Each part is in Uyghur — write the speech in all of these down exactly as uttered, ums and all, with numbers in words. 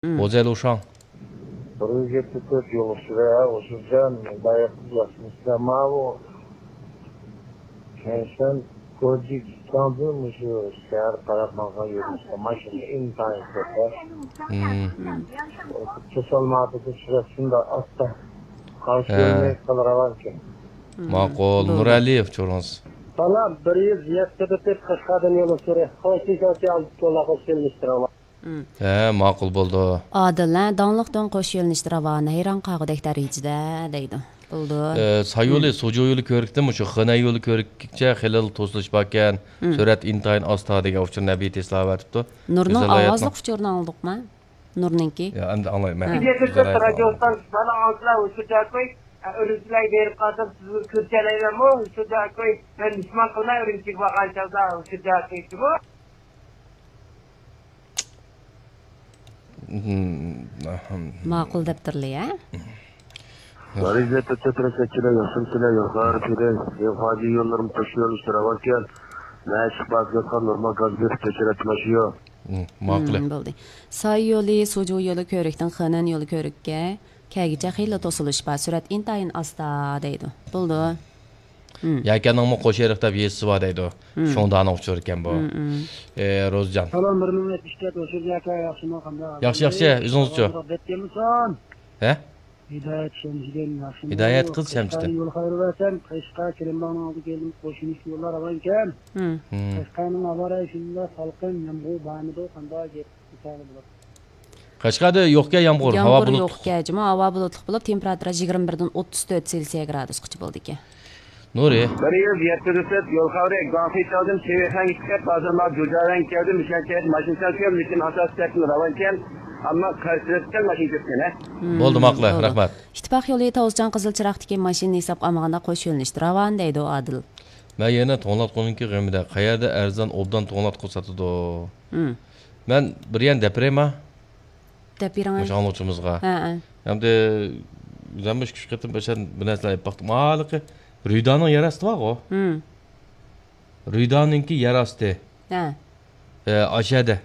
ھوزەيلۇشاڭ. بىر يۈز يەتتە تۆت يولۇچى ۋە ئوشۇرجان داياقسىز ياخشىمىسىلەر ماۋۇ. كەنشەن كوجى جىكاڭدىن مۇشۇ شەھەر تەرەپ ماڭغان يۆنىلىشتە ماشىنا ئىنتايىن كۆپ. مم. توسالماپتۇ، سۈرئەت شۇنداق ئاستا. قارشى ھە. يۆنىلىش قىلىپ راۋانكەن. ماقۇل. بولدى. نۇرئەلىيېۋ، چورۇڭىز. سالام، بىر يۈز يەتتە تۆت قەشقەردىن يولۇچى. خوش كېلىڭ، ئالدى تولا خوش كېلىڭلار. ھە، ماقۇل بولدى. ئادىل، ھە، داڭلىق دۆڭ قوش يۆنىلىشتە راۋان، ھەيران قالغۇدەك دەرىجىدە دەيدۇ. بولدى. ئە، ساي يولى، سوجۇ يولى كۆۋرۈكتىن مۇشۇ خېنەن يولى كۆۋرۈككىچە خېلىلا توسۇلۇش باركەن. سۈرئەت ئىنتايىن ئاستا دېگەن ئۇچۇرنى نەبىي تېسلا ئەۋەتىپتۇ. نۇرنىڭ ئاۋازلىق ئۇچۇرىنى ئاڭلىدۇقمۇ؟ نۇرنىڭكى. يا، ئەمدى ئاڭلايمەن. ھە. رادىيو ئىستانسىيەسى، مانا ئاڭلىسىلەر، ئۇچۇر دەكوي، ئۈرۈمچىلەرگە بېرىپ قالسام، سىزنى كۆرسەلەيمەنمۇ؟ ئۇچۇر دەكوي، مەن مېھمان قىلماي ئۈرۈمچىگە بارغان چاغدا ئۇچۇر دەكوي. ماقۇل دەپتۇرلى، ھە؟ بىر يۈز يەتتە تۆت تەكشۈرە ياخشىمۇ سىلەر يوقلار سىلەر. يوقاجى يوللىرىم قوش يۆنىلىشتە راۋانكەن. مەشىق بازگاتقا نورمال گاز بېرىپ تەكشۈرەتماشىيو. ماقۇل. بولدى. ساي يولى، سوجۇ يولى كۆۋرۈكتىن خېنەن يولى كۆۋرۈككە كەلگۈچە خېلىلا توسۇلۇش بار. سۈرئەت ئىنتايىن ئاستا دەيدۇ. بولدى. يەكەننىڭمۇ قوش ئېرىق دەپ يېزىسى بار دەيدۇ. شۇڭدانىڭ ئۇچۇرى ئىكەن بۇ. ئى، روزىجان. سالام، بىر مىڭ يەتمىش تۆت، ھوشۇر ياكا ياخشىمۇ، قانداق ئەھۋال؟ ياخشى، ياخشى، ئۆزىڭىزچۇ؟ دەپ كەلمىسۇن. ھە؟ ھىدايەت شەمشىدىن ياخشىمۇ؟ ھىدايەت قىز شەمشىدىن. قەشقەرنى يول خەۋىرى بەرسەم، قەشقەر كىرىمباغنىڭ ئالدىغا كەلدىم، قوشۇنۇش يوللار راۋانكەن. قەشقەرنىڭ ھاۋا رايى شۇنداق سالقىن، يامغۇر بارمىدۇ، قانداق گەپ؟ قەشقەردە يوقكەن يامغۇر، ھاۋا يامغۇر بۇلۇتلۇق. يوقكەن جۇمۇ، ھاۋا بۇلۇتلۇق بولۇپ، تېمپېراتۇرا يىگىرمە بىردىن ئوتتۇز تۆت سېلسىيە گرادۇسقىچە بولىدىكەن. نۇرى. بىر يۈز يەتتە تۆت يول خەۋىرى، گۇاڭخې چاۋدىن شىۋېيخەنگە چىقىپ، ھازىر مانا جۇجياۋەنگە كەلدىم، مىشەن شەھەردە ماشىنا چاقىپ، لېكىن ئاساسىي سەپتىن راۋانكەن، ئەمما قارشى تەرەپتىن ماشىنا كەتكەن، ھە؟ بولدى، ماقۇل، رەھمەت. ئىتتىپاق يولى تاۋۇزچان قىزىل چىراغدىكى ماشىنا ھېسابقا ئالمىغاندا قوش يۆنىلىشتە راۋان دەيدۇ ئادىل. مەن يەنە توڭلاتقۇنىڭكى غېمىدە، قەيەردە ئەرزان ئوبدان توڭلاتقۇ ساتىدۇ؟ مەن بىر يەنە دەپ بېرەيما؟ دەپ بېرىڭ. مۇشۇ ئاڭلىغۇچىمىزغا. ھە، ھە. ئەمدى مەن مۇشۇ ئىككى قېتىم بىر نەرسىلەر، بىر نەرسىلەر ئېلىپ باقتىم. ھېلىقى رۈيدانىڭ يەر ئاستى بارغۇ. رۈيدانىڭكى يەر ئاستى. ھە. ئاشەدە.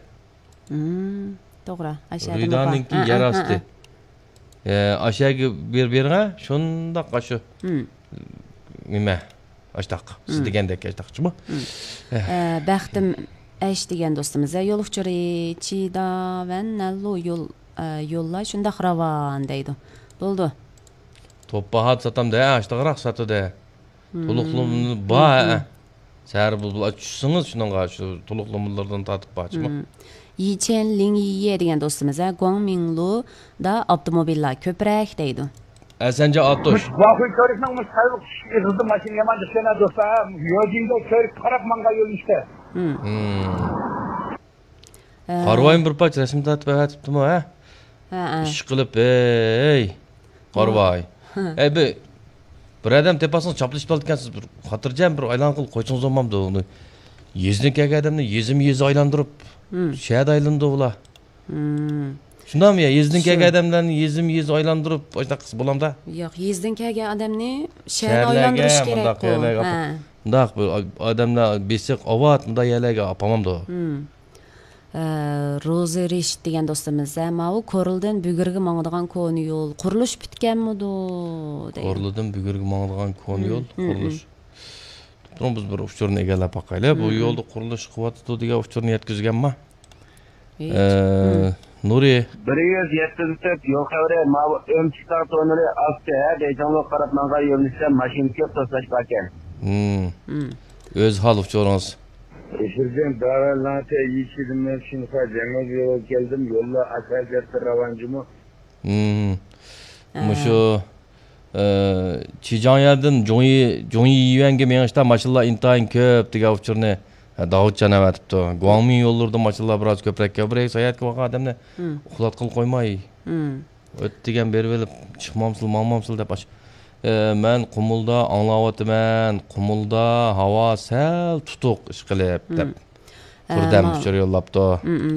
توغرا. ئاشەدە. رۈيدانىڭكى يەر ئاستى. ئاشەگە بېرىپ بېرىڭە، شۇنداق ئاشۇ. نېمە؟ ئاشتاق. سىز دېگەندەك ئاشتاقچىمۇ؟ بەختىم ئەش دېگەن دوستىمىز، يول ئۇچۇرى چىداۋەن نەللۇ يول، يوللار شۇنداق راۋان دەيدۇ. بولدى. توپپا ھات ساتامدۇ، ھە، ئاشتاقراق ساتىدۇ. تولۇقلىما بار، ھە. سەھەر بۇلبۇل چۈشسىڭىز شۇنىڭغا، شۇ تولۇقلىمىلىرىدىن تارتىپ بارچىمۇ؟ يىچيەن لىڭيىيە دېگەن دوستىمىز، ھە، گۇاڭمىڭلۇدا ئاپتوموبىللار كۆپرەك دەيدۇ. ئەسەنجان ئاتۇش. گۇاخۇي كۆۋرۈكنىڭ مۇشۇ سايلىق چۈشۈش ئېغىزىدا ماشىنا يامان جىق يەنە دوستلار، ھە. يوجىنگو كۆۋرۈك قاراپ ماڭغان يۆنىلىشتە. قارىۋايمۇ بىر پارچە رەسىم تارتىپ ئەۋەتىپتىمۇ، ھە؟ ھە، ھە. ئىشقىلىپ، ھەي، قارىۋاي. ھە. ھەي، بىر، بىر ئادەم تېپەلسىڭىز چاپلىشىپ قالىدىكەنسىز، بىر خاتىرجەم بىر ئايلانغىلى قويسىڭىز بولمامدۇ ئۇنى؟ يېزىدىن كەلگەن ئادەمنى يېزىمۇ يېزا ئايلاندۇرۇپ، شەھەردە ئايلىنىدۇ ئۇلار. شۇنداقمۇ يا؟ يېزىدىن كەلگەن ئادەملەرنى يېزىمۇ يېزا ئايلاندۇرۇپ، ئاشۇنداق قىلسا بولامدا؟ ياق، يېزىدىن كەلگەن ئادەمنى شەھەرگە ئايلاندۇرۇش كېرەكقۇ. مۇنداق بىر ئادەملەر بېسىق، ئاۋات، مۇنداق يەرلەرگە ئاپارمامدۇ؟ ئە، روزى رېشىت دېگەن دوستىمىز، ھە، ماۋۇ كورلىدىن بۈگۈرگە ماڭىدىغان كونا يول قۇرۇلۇش پۈتكەنمىدۇ دەيدۇ. كورلىدىن بۈگۈرگە ماڭىدىغان كونا يول قۇرۇلۇش. تۇرۇڭ، بىز بىر ئۇچۇرنى ئىگىلەپ باقايلى. بۇ يولدا قۇرۇلۇش قىلىۋاتىدۇ دېگەن ئۇچۇرنى يەتكۈزگەنما؟ ئە، نۇرى. بىر يۈز يەتتە يول خەۋىرى، ماۋۇ ئۆمچۈك تاغ توننېلى ئاستى، ھە، بېيجىڭغا قاراپ ماڭغان يۆنىلىشتە ماشىنا كۆپ توسۇلۇش باركەن. ئۆز ھال ئۇچۇرىڭىز. ئېشىرجان داۋەنلەڭتە يىشىدىن مەن شىنخۇا جەڭگەن يولغا كەلدىم، يوللار ئاساسىيەتتە راۋان جۇمۇ. مۇشۇ، ئە، چىجاڭيەدىن جۇڭيى، جۇڭيى يۈەنگە مېڭىشتا ماشىنىلار ئىنتايىن كۆپ دېگەن ئۇچۇرنى، ئە، داۋۇتجان ئەۋەتىپتۇ. گۇاڭمىڭ يوللىرىدا ماشىنىلار بىراز كۆپرەك، بىر ساياھەتكە بارغان ئادەمنى ئۇخلاتقىلى قويماي. ئۆت دېگەن بېرىۋېلىپ، چىقمامسىل، ماڭمامسىل دەپ ئاش-، ئە، مەن قۇمۇلدا ئاڭلاۋاتىمەن، قۇمۇلدا ھاۋا سەل تۇتۇق ئىشقىلىپ دەپ. بىردەم ئۇچۇر يوللاپتۇ.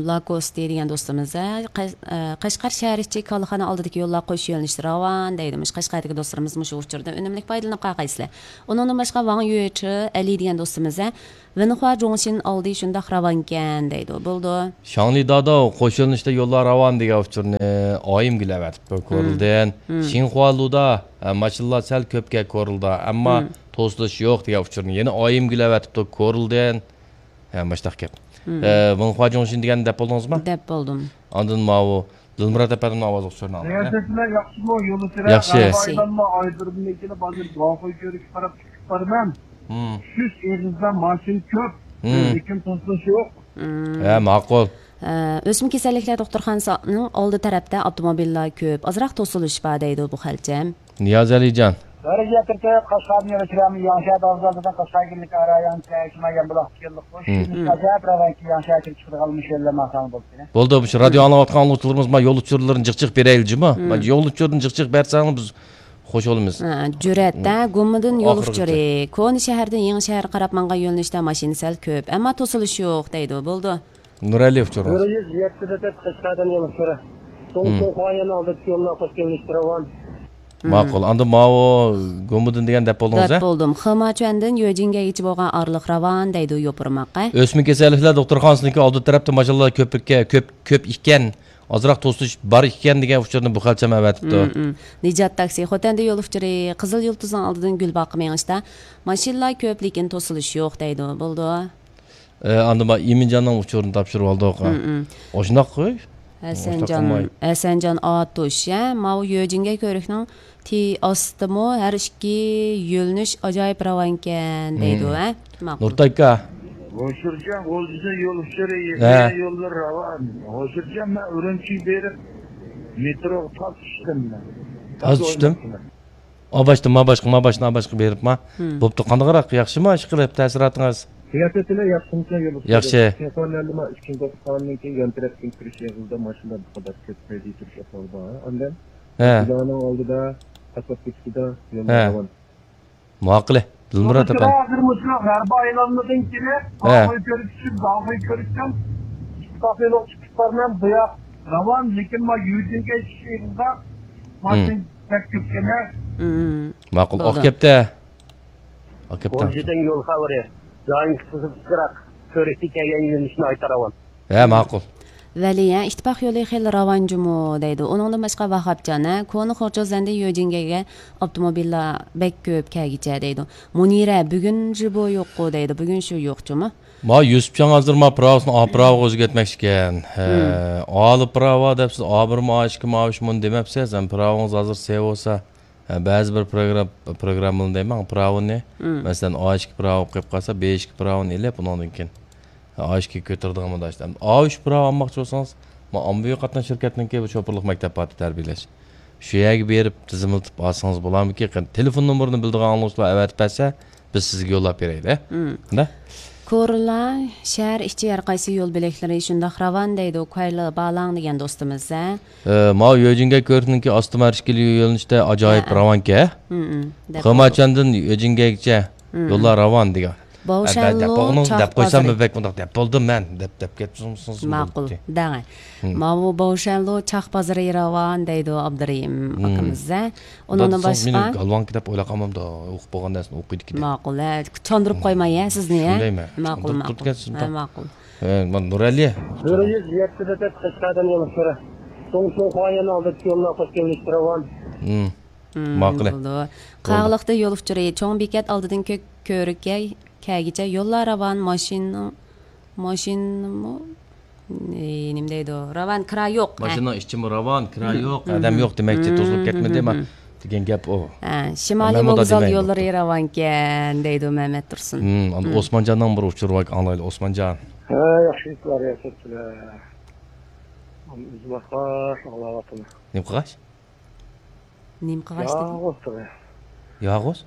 لاكوستى دېگەن دوستىمىز، ھە، قەش-، ئە، قەشقەر شەھەر ئىچى كالىخانا ئالدىدىكى يوللار قوش يۆنىلىشتە راۋان دەيدۇ. مۇشۇ قەشقەردىكى دوستلىرىمىز مۇشۇ ئۇچۇردىن ئۈنۈملۈك پايدىلىنىپ قالغايسىلەر. ئۇنىڭدىن باشقا ۋاڭ يۈچې ئەلى دېگەن دوستىمىز، ھە، ۋېنخۇا جۇڭشىن ئالدى شۇنداق راۋانكەن دەيدۇ. بولىدۇ. شاڭلى داداۋ، قوش يۆنىلىشتە يوللار راۋان دېگەن ئۇچۇرنى ئايىمگۈل ئەۋەتىپتۇ كورلىدىن. شىنخۇا لۇدا، ھە، ماشىنىلار سەل كۆپكەن كورلىدا، ئەمما توسۇلۇش يوق دېگەن ئۇچۇرنى يەنە ئايىمگۈل ئەۋەتىپتۇ كورلىدىن. ھە، مۇشۇنداق گەپ. ھە، ۋېنخۇا جۇڭشىن دېگەننى دەپ بولدىڭىزمۇ؟ دەپ بولدۇم. ئاندىن ماۋۇ دىلمۇرات ئەپەندىمنىڭ ئاۋازلىق ئۇچۇرىنى ئاڭلايلى. رىياسەتچىلەر ياخشىمۇ؟ يولدىشى ياخشى. ئايلانما ئايدۇرۇمنىڭكىنى بازىر داخۇي كۆرۈككە قاراپ چىقىپ بارىمەن. چۈشۈش ئېغىزدا ماشىنا كۆپ، لېكىن توسۇلۇش يوق. ھە، ماقۇل. ئە، ئۆسمە كېسەللىكلەر دوختۇرخانىسىنىڭ ئالدى تەرەپتە ئاپتوموبىللار كۆپ، ئازراق توسۇلۇش بار دەيدۇ بۇ خەلچەم. نىياز ئەلىجان. ۋەرىجە تۈرتۈپ، قاشقاردىن يۆلەپ كېلەم، ياڭشا دازىلدىن قاشقار كىرلىك ئارا ياڭشا شىما يەم بۇلاق تىكەنلىك خوش. ئاجايىپ راۋانكى ياڭشا كىرىپ چىقىدىغان مۇشۇ يەرلەر ماڭساڭ بولدى. بولدى، مۇشۇ رادىيو ئاڭلاۋاتقان ئاڭلىغۇچىلىرىمىز ما يول ئۇچۇرلىرىنى جىق جىق بېرەيلى جۇمۇ. ما يول ئۇچۇرىنى جىق جىق بەرسەڭلار بىز خوش بولىمىز. ھە، جۈرئەتتە گۇمىدىن يول ئۇچۇرى. كونا شەھەردىن يېڭى شەھەرگە قاراپ ماڭغان يۆنىلىشتە ماشىنا سەل كۆپ، ئەمما توسۇلۇش يوق دەيدۇ. بولدى. نۇرئەلى ئۇچۇرىڭىز. بىر يۈز يەتتە دەپ قەشقەردىن يول ئۇچۇرى. توڭتۇڭ خۇايەن ئالدىدىكى يوللار قوش يۆنىلىشتە راۋان. ماقۇل. ئاندىن ماۋۇ گۇمىدىن دېگەن دەپ بولدىڭىز، ھە؟ دەپ بولدۇم. خېماچۈەندىن يۆجىنگەگىچە بولغان ئارىلىق راۋان دەيدۇ يوپۇرماق، ھە؟ ئۆسمە كېسەللىكلەر دوختۇرخانىسىنىڭكى ئالدى تەرەپتە ماشىنىلار كۆپ، كۆپ، كۆپ ئىكەن، ئازراق توسۇش بار ئىكەن دېگەن ئۇچۇرنى بۇ خەلچەم ئەۋەتىپتۇ. نىجات تاكسى، خوتەندە يول ئۇچۇرى، قىزىل يۇلتۇزنىڭ ئالدىدىن گۈلباغقا مېڭىشتا ماشىنىلار كۆپ، لېكىن توسۇلۇش يوق دەيدۇ. بولدى. ئە، ئاندىن بار ئىمىنجاننىڭ ئۇچۇرىنى تاپشۇرۇۋالدۇق. ئاشۇنداق قوي. ھەسەنجان، ھەسەنجان ئاتۇش، ھە، ماۋۇ يۆجىنگە كۆۋرۈكنىڭ تى ئاستىمۇ ھەر ئىككى يۆنىلىش ئاجايىپ راۋانكەن دەيدۇ، ھە؟ ماقۇل. نۇرتاكا. ھوشۇرجان غۇلجىسى يول ئۇچۇرى، ھە. يوللار راۋان. ھوشۇرجان، مەن ئۈرۈمچىگە بېرىپ مېتروغا تاس چۈشتۈم مەن. تاس چۈشتۈم؟ ئاباشتىن ماباشقا، ماباشتىن ئاباشقا بېرىپما. بوپتۇ، قانداقراق، ياخشىما، ئىشقىلىپ تەسىراتىڭىز؟ سىياسەتچىلەر ياخشىمىكەن يولدىشى؟ ياخشى. شىنخۇا نەنلىما ئىككىنچى دوختۇرخانىنىڭ كېيىن يان تەرەپتىن كىرىش ئېغىزىدا ماشىنىلار بۇ قەدەر كۆپ ھەيدەش ئەھۋالى بار. ئاندىن بىنانىڭ ئالدىدا، ئاسفالت كۆچىتىدە يوللار راۋان. ماقۇل، دىلمۇرات ئەپەندى. ھازىر مۇشۇ غەربىي ئايلانمىدىن كېلىپ، داخۇي كۆرۈپ چۈشۈپ، داخۇي كۆرۈشتىن ئىككى كافېلوق چىقىپ بارىمەن، بۇ ياق راۋان، لېكىن ما يۈجۈنگە چۈشۈش ئېغىزدا ماشىنا بەك كۆپكەن. ماقۇل، ئاق كەپتە. ئاق كەپتە. غۇلجىدىن يول خەۋىرى. دائىم قىزىق پىچىراق. كۆرۈكتە كەلگەن يۆنىلىشنى ئايتا راۋان. ھە، ماقۇل. ۋەلى، ھە، ئىتتىپاق يولى خېلى راۋان جۇمۇ دەيدۇ. ئۇنىڭدىن باشقا ۋاھاپجان، ھە، كونا خورچوزەندىن يۆجىنگەگە ئاپتوموبىللار بەك كۆپ كەلگىچە دەيدۇ. مۇنىرە، بۈگۈن جۇبو يوققۇ دەيدۇ. بۈگۈن شۇ يوقچۇمۇ؟ ما يۈسۈپجان ھازىر ما پىراۋىسىنى ئا پىراۋىغا ئۆزگەرتمەكچىكەن. ھە، ئالا پىراۋا دەپسىز، ئا بىرمۇ، ئا ئىككىمۇ، ئا ئۈچمۇ دېمەپسىز. ھەم پىراۋىڭىز ھازىر سېۋىسا. ھە، بەزى بىر پروگرام-، پروگراممىلار دەيمەن، پىراۋىنى. مەسىلەن، ئا ئىككى پىراۋا قويۇپ قالسا، بې ئىككى پىراۋىنى ئېلىپ، ئۇنىڭدىن كېيىن ئا ئىككى كۆتۈرىدىغان مۇنداق ئىشلار. ئا ئۈچ پىراۋا ئالماقچى بولسىڭىز، ما ئاممىۋى قاتناش شىركەتنىڭكى بۇ شوپۇرلۇق مەكتەپ بار تەربىيەلەش. شۇ يەرگە بېرىپ تىزىملىتىپ ئالسىڭىز بولامدىكىن؟ قېنى، تېلېفون نومۇرىنى بىلىدىغان ئاڭلىغۇچىلار ئەۋەتىپ بەرسە، بىز سىزگە يوللاپ بېرەيلى. مم. نە؟ كورلا شەھەر ئىچى ھەر قايسى يول بۆلەكلىرى شۇنداق راۋان دەيدۇ، كۇەيلى بالاڭ دېگەن دوستىمىز، ھە؟ ئە، ماۋۇ يۆجىنگە كۆۋرۈكنىڭكى ئاستىما ھەر ئىككىلا يۆنىلىشتە ئاجايىپ ھە، ھە. راۋانكەن. مم، مم. دەپ خېماچاندىن يۆجىنگەگىچە مم. يوللار راۋان دېگەن. باۋشەنلۇ، دەپ بولغىنىڭىز دەپ قويسام، چاق بازىرى. بەك مۇنداق دەپ بولدۇم مەن، دەپ، دەپ كەتسىڭىز ماقۇل، بولدى. دەڭە. مم. ماۋۇ باۋشەنلۇ چاق بازىرى راۋان دەيدۇ ئابدۇرېھىم مم. ئاكىمىز، ھە؟ ئۇنىڭدىن باشقا مېنى گالۋانكا دەپ ئويلاپ قالمامدۇ؟ ئوقۇپ بولغان نەرسىنى ئوقۇيدىكى دەپ. ماقۇل، ھە، چاندۇرۇپ قويماي، ھە، سىزنى، ھە؟ شۇندايمەن. ماقۇل، ماقۇل. ھە، ماقۇل. ھە، مانا نۇرئەلى. بىر يۈز يەتتە دەپ قەشقەردىن يول ئۇچۇرى. توڭتۇڭ خۇايەن ئالدىدىكى يوللار قوش يۆنىلىشتە راۋان. مم. مم، ماقۇل. بولدى. قاغلىقتا يول ئۇچۇرى، چوڭ بېكەت ئالدىدىن كۆك كۆۋرۈككە كەگىچە يوللار راۋان، ماشىنىنىڭ، ماشىنىمۇ، ئى، نېمە دەيدۇ؟ راۋان، كىرا يوق. ھە. ماشىنىنىڭ ئىچىمۇ راۋان، كىرا مم. يوق، ئادەم يوق دېمەكچى، توسۇلۇپ كەتمىدى، مم. دېگەن گەپ ئۇ. ھە، شىمالىي ۋوگزال يوللىرى راۋانكەن دەيدۇ مەمەت تۇرسۇن. مم، ئاندىن ئوسمانجاننىڭ بىر ئۇچۇرى بار، ئاڭلايلى، ئوسمانجان. ھە، ياخشى ئىشلار ياساپسىلەر. ئۆزۈم ئاڭلاۋاتىمەن. نېمە قىلغاچ؟ نېمە قىلغاچ دېدىڭ؟ ياغۇز تېخى. ياغۇز؟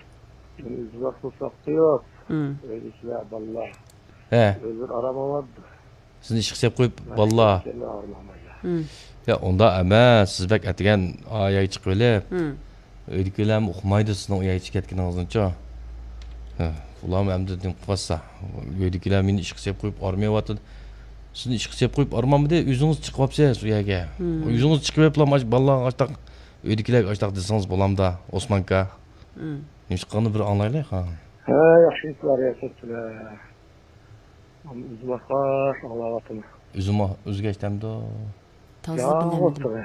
ئۆزى ۋاقتى ساقچى يوق. ئۆي ئىچىدە بالىلار. ھە. ئۆزلىرى ئارام ئالىدۇ. سىزنى ئىشقا سېلىپ قويۇپ، بالىلار. مم. يا، ئۇنداق ئەمەس. سىز بەك ئەتىگەن ئاياغ چىقىۋېلىپ، مم. ئۆيدىكىلەرمۇ ئۇقمايدۇ سىزنىڭ ئۇياغ چىقىپ كەتكىنىڭىزنىچۇ. ھە. بۇلارمۇ ئەمدى نېمە قىلىۋاتسا، ئۆيدىكىلەر مېنى ئىشقا سېلىپ قويۇپ ئارمىيىۋاتىدۇ. سىزنى ئىشقا سېلىپ قويۇپ ئارمامدى، ئۆزىڭىز چىقىۋاپسىز ئۇ يەرگە. مم. ئۆزىڭىز چىقىۋېپلا ماش-، بالىلارغا ئاشتاق، ئۆيدىكىلەرگە ئاشتاق دېسىڭىز بولامدا، ئوسمان ئاكا؟ مم. نېمىشقا قىلغىنىنى بىر ئاڭلايلى، ھا. ھە، ياخشى ئېيتىپسىلەر، ياخشى ئېيتىپسىلەر. ئۆزۈم ئاخىر ئاڭلاۋاتىمەن. ئۆزىمۇ ئۆزگەچتەمدۇ؟ تازا ياڭغۇ بىلەمدىم. تۇرۇ.